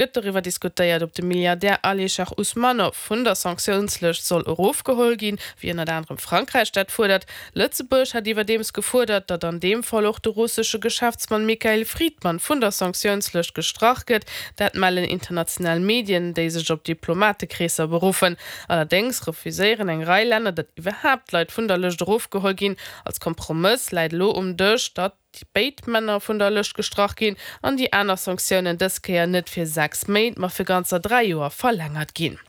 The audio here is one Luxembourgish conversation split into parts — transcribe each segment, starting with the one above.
Gëtt doriwwer diskutéiert, ob de Milliardär Alisher Usmanov vun der Sanktiounslëscht soll erofgeholl ginn, wéi ënnert anerem Frankräich dat fuerdert. Lëtzebuerg hat iwwerdeems gefuerdert, datt an deem Fall och de russesche Geschäftsmann Mikhail Fridman vun der Sanktiounslëscht gestrach gëtt. Dat mellen international Medien, déi sech op Diplomatekreesser beruffen. Allerdéngs refuséieren eng Rei Länner, datt iwwerhaapt Leit vun der Lëscht erofgeholl ginn. Als Kompromëss läit elo um Dësch, datt. Béid Männer vun der Lëscht gestrach ginn an déi aner Sanktiounen dës Kéier net fir 6 Méint, ma fir ganzer 3 Joer verlängert ginn.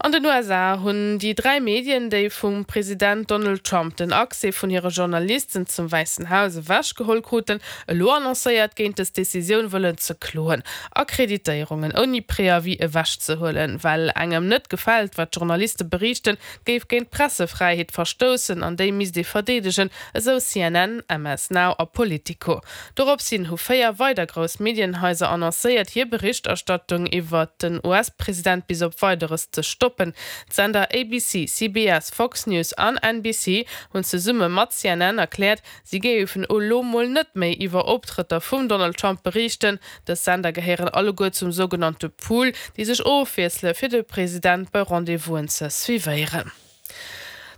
An den USA hunn déi 3 Medien, déi vum President Donald Trump den Accès vun hire Journalisten zum Wäissen Haus ewech geholl kruten, elo annoncéiert, géint dës Decisioun wëllen ze kloen. Akkreditéierungen ouni Préavis ewech ze huelen, well engem net gefält, wat d'Journaliste beriichten, géif géint d'Pressefräiheet verstoussen an déi misst ee verdeedegen, Esou CNN, MS Now a Politico. Doropshin hu 4 weider grouss Medienhaiser annoncéiert, hir Berichterstattung iwwert den US-President bis op Weideres ze stoppen. D'Sender ABC, CBS, Fox News an NBC hunn zesumme mat CNN erkläert, si géifen elo mol net méi iwwer Optrëtter vum Donald Trump beriichten. Dës Sender gehéieren alleguer zum sougenannte Pool, déi sech ofwiessele fir de President bei Rendez-vousen ze suivéieren.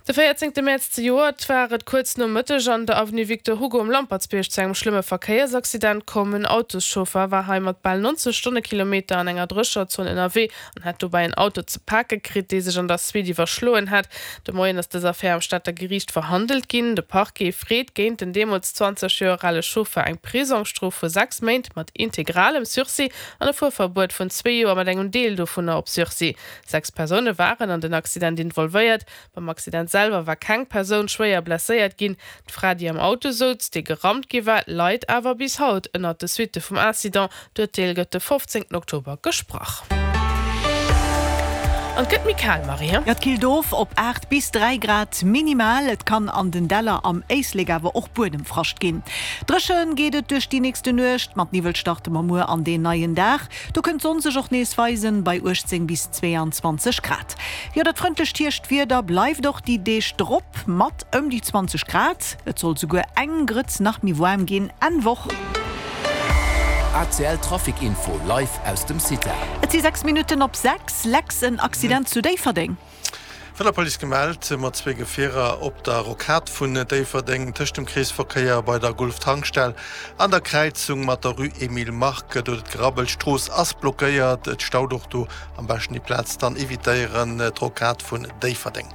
De 14 Mäerz zejoert war et kuerz no Mëtteg an der Avenue Victor Hugo um Lampertsbierg zu engem schlëmme Verkéiersaccident komm. En Autoschauffer war hei mat bal 90 Stonnekilometer an enger Drécherzon ënnerwee an hätt dobäi en Auto ze pake kritt, dee sech an der Suite iwwerschloen hat. De Moien ass dës Affär am Stater Geriicht verhandelt ginn. De Parquet freet géint den deemools 20 Joer ale Chauffer eng Prisongsstrof vu 6 Méint mat integralem Sursis an e Fuerverbuet vun zwee Joer mat engem Deel dovunner op Sursis. 6 Persoune waren an den Accident involvéiert. Beim Accident selwer war keng Persoun schwéier blesséiert ginn. D'Fra, déi am Auto souz, dee gerammt gi war, leit awer bis haut ënnert de Suitte vum Incident. D'Urteel gëtt de 15 Oktober gesprach. An et gëtt méi kal, Marie. Jo, et killt of op 8 bis 3 Grad minimal. Et kann an den Däller am Éislek awer och Buedemfrascht ginn. Dréche geet et duerch déi nächste Nuecht. Mat Niwwel starte mer muer an deen neien Dag. Do kënnt d'Sonn sech och nees weisen, bei 18 bis 22 Grad. Jo, dat frëndlecht Hierschtwieder bleift och déi Deeg drop mat ëm déi 20 Grad. Et soll souguer eng Grëtz nach méi waarm ginn Enn Woch. ACL Trafic Info live aus dem CITA. Et si 6 Minutten op 6. Lex, en Accident zu Déifferdeng. Vun der Police gemellt, mat zwee Gefierer op der Rocade vun Déifferdeng, tëscht dem Kreesverkéier bei der Gulf-Tankstell an der Kräizung mat der Rue Emile Mark. Do huet et gerabbelt, d'Strooss ass blockéiert, et staut och do. Am beschten déi Plaz dann evitéieren, d'Rocade vun Déifferdeng.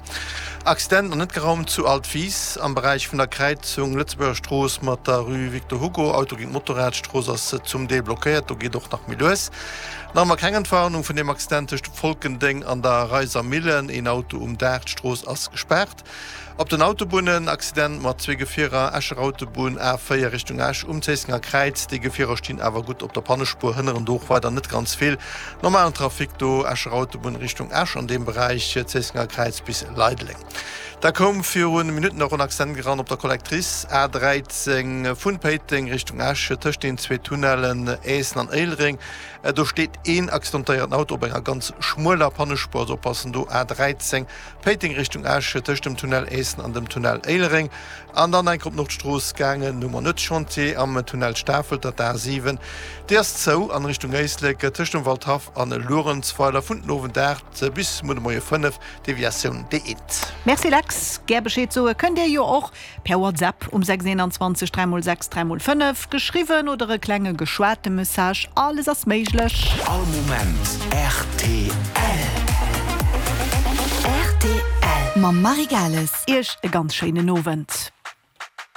Accident an net geraumt zu Altwis am Beräich vun der Kräizung Lëtzebuerger Strooss mat der Rue Victor Hugo. Auto géint Motorrad, d'Strooss ass zum Deel blockéiert, do geet och nach méi lues. Nach ëmmer keng Entwarnung vun deem Accident tëscht Folkendeng an der Reiser Millen. Een Auto um Daach, d'Strooss ass gespaart. Op den Autobunnen, Accident mat zwee Gefierer, Escher Autobunn A4 Richtung Esch um Zéissenger Kräiz. Déi Gefierer stinn awer gutt op der Pannespuer, hënneren do och weider net ganz vill. Normalen Trafic do, Escher Autobunn Richtung Esch an deem Beräich Zéissenger Kräiz bis Leideleng. Da koum virun Minutten och en Accident eran op der Collectrice A 13 vun Péiteng Richtung Esch tëscht den zwee Tunnellen Aessen an Éilereng. Do steet een accidentéierten Auto op enger ganz schmueler Pannespuer, also oppassen do A 13 Péiteng Richtung Esch tëscht dem Tunnel Aessen an dem Tunnel Éilereng. An dann enk op d'Nordstrooss gaangen, hu mer net Chantier am Tunnel Stafelter, d'A 7 déi ass zou an Richtung Éislek tëscht dem Waldhaff an Luerenzweiler vun den Owend 8 bis muer de Moie 5. Deviatioun D1. Merci Lex, gär Bescheed soe kënnt dir jo och per WhatsApp um 6 21 3 x 6 3 x 5, geschriwwen oder e klenge geschwate Message, alles ass méiglech. All Moment rtl. Rtl mam Marie Gales. Iech e ganz schéinen Owend.